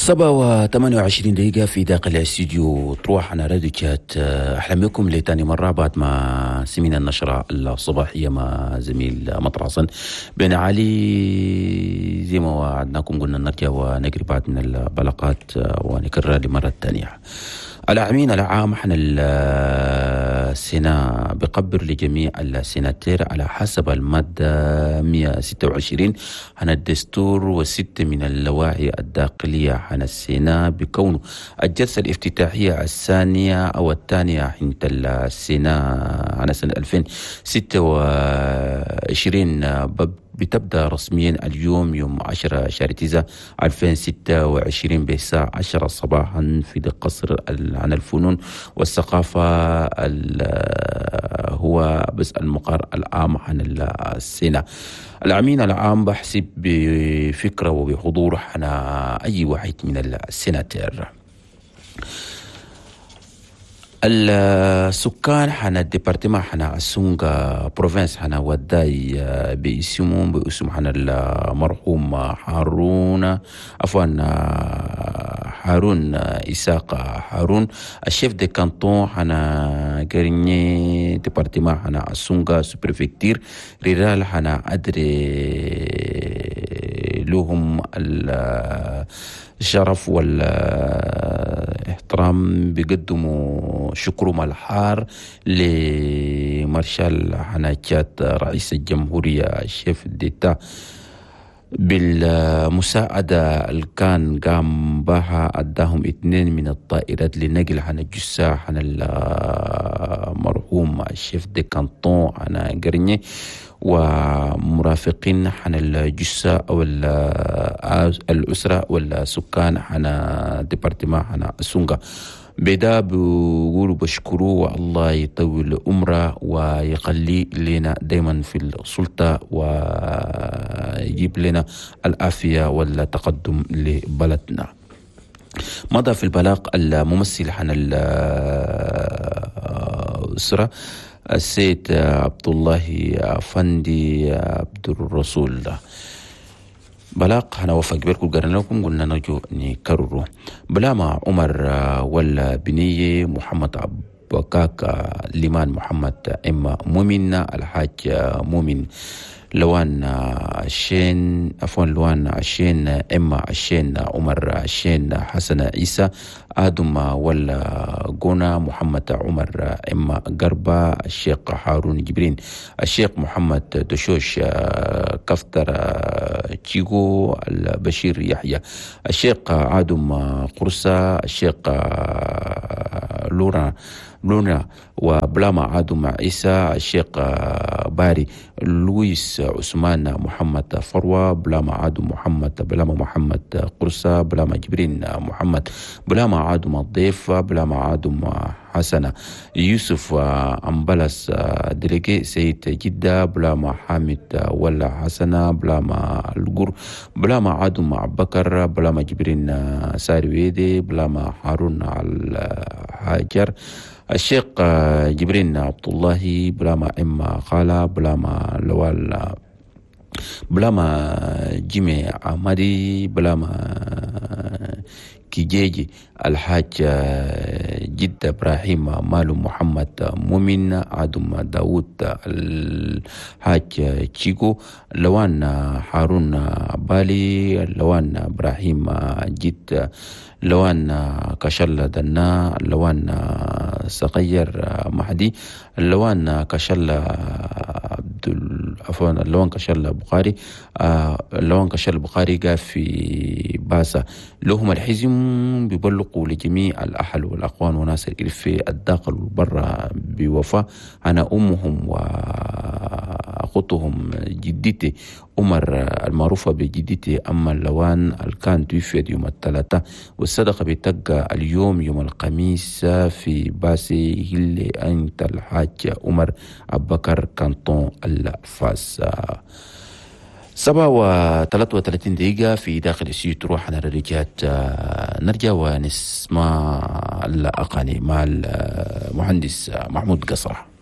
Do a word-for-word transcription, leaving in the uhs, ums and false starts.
سبعة وثمانية وعشرين دقيقة في داخل الاستديو تروح على راديو تشات. أهلا بكم لتاني مرة بعد ما سمينا النشرة الصباحية مع زميل مطر حسن بن علي. زي ما وعدناكم قلنا نرجع ونقري بعض من البلاغات ونكررها لمرة ثانية. الأمين العام حنا السينا بقبر لجميع السيناتير على حسب المادة مئة وستة وعشرين عن الدستور وست من اللوائح الداخلية عن السينا بكونه الجلسة الافتتاحية الثانية أو الثانية عند السينا عن سنة ألفين وستة وعشرين بتبدأ رسميا اليوم يوم عشرة شهر تسعة ألفين وستة وعشرين بالساعة عشرة صباحا في القصر عن الفنون والثقافة هو بس المقر العام عن السنة. الأمين العام بحسب بفكرة وبحضور عن أي واحد من السناتير. السكان حنا ال département حنا السونغا province حنا وداي باسمهم باسم حنا المرحوم هارون عفوا هارون إساق هارون ال chef de canton حنا غرني département حنا السونغا sous-préfecture rurale حنا أدري لهم الشرف والاحترام بيقدموا شكرهم الحار لمارشال حناكات رئيس الجمهورية ال chef d'État بالمساعدة اللي كان قام بها أداهم اثنين من الطائرات لنقل عن الجثة عن المرحوم ال chef de canton عن قرني ومرافقين عن الجثة أو الأسرة والسكان عن département عن السونغا. بدا بيقولوا بشكروه والله يطول عمره ويخلي لنا دايما في السلطة ويجيب لنا العافية والتقدم لبلدنا. مضى في البلاغ الممثل عن الأسرة السيد عبد الله أفندي عبد الرسول. بلاغ أنا وفق بيركو قرنا لكم قلنا نرجو نكرره. بلاما عمر ولا بنية محمد عبكاك ليمان محمد إما مؤمن الحاج مؤمن لوان عشين عفوا لوان عشين إما عشين عمر عشين حسن عيسى آدم ولا جونا محمد عمر إما قربة الشيخ هارون جبرين الشيخ محمد دشوش كفتر تشيغو البشير يحيى الشيخ آدم قرصة الشيخ لورا لونا وبلاما عادم عيسى الشيخ باري لويس عثمان محمد فروة بلاما عادم محمد بلاما محمد قرصة بلاما جبرين محمد بلاما عادم الضيف بلاما عادم حسنة يوسف أمبلس délégué سيد جدة بلاما حامد ولا حسنة بلاما القر بلاما عادم بكر بلاما جبرين سارويدي بلاما هارون الحاجر الشيخ جبرين عبد الله بلاما إما خالة بلاما لوال بلاما جيمي عمدي بلاما كيجيجي الحاج جد إبراهيم مالو محمد مؤمن عدم داود الحاج تشيكو لوان هارون بالي لوان إبراهيم جد لوان كشل دنا لوان صغير مهدي لوان كشل عبد عفوا لوان كشل بخاري لوان كشل بخاري قال في باسا لهم الحزم بيبلغوا لجميع الأهل والأخوان وناس الإلفي الداخل والبرة بوفاة أنا أمهم وأخوتهم جدتي عمر المعروفة بجدتي أما اللوان الكان توفيت يوم الثلاثاء والصدقة بتبقى اليوم يوم الخميس في باسي هلي أنت الحاج عمر أبكر كانتون الفاس. سبعة وثلاثة وثلاثين دقيقة في داخل السيوت تروح على الرجات. نرجع ونسمع الأغاني مع المهندس محمود قصرة.